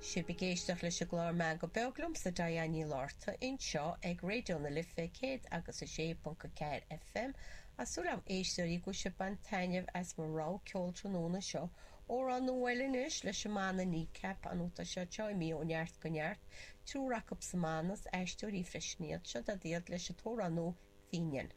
Sibh ag éisteacht leis an gclár Meangadh Beag liomsa Diane Ní Fhlatharta anseo ag Raidió na Life 106.4 FM. Tá súil agam a éisteoirí go bhfuil sibh ag baint taitneamh as mo rogha ceoil tráthnóna seo. Amhrán nua eile anois leis an mbanna Kneecap, an tá siad seo imithe ó neart go neart. Triúr acu sa mbanna, is aisteoirí freisin iad. Seo iad leis an t-amhrán nua Fínian.